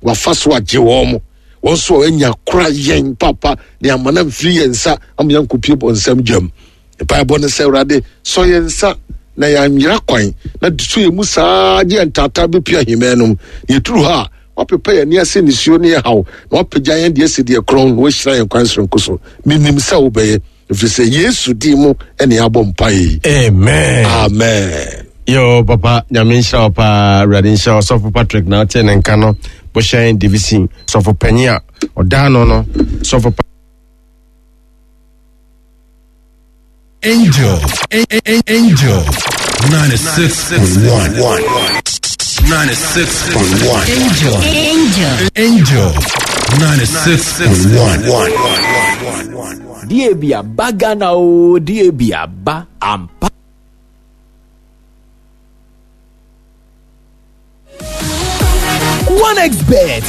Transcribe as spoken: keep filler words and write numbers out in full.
Wafa so agye wɔn mo. Wɔn nso a anya kora yɛn papa ne amana mfiri yɛn nsa ama yɛnkɔpie bɔ nsɛm gyam. Mpaebɔ ne sɛ, Awurade, sɔ yɛn nsa na yɛanyera kwan, na so yɛn mu saa gye yɛn taataa bɛpue ahemman no mu. Na yɛduru hɔ a, wapepa yɛn ani ase nisuo ne yɛn haw, na wapagya yɛn deɛ asi deɛ korɔn, na wahyira yɛn kwan soronko so. Menim sɛ wobɛyɛ, ɛfiri sɛ Yesu din mu ɛne abɔ mpaeɛ yi. Amen. Amen. Yo, papa, Nyame nhyira wo paa. Awurade nhyira wo. Sɔfo Patrick na wote ne nka no, Bohyɛn Division sɔfo panyin a ɔdaa no no sɔfo pa. Angel, Angel, ninety-six point one. ninety-six point one. Angel. Angel. Angel, ninety-six point one. D A B aba Ghana o, D A B aba ampa. OneXBet.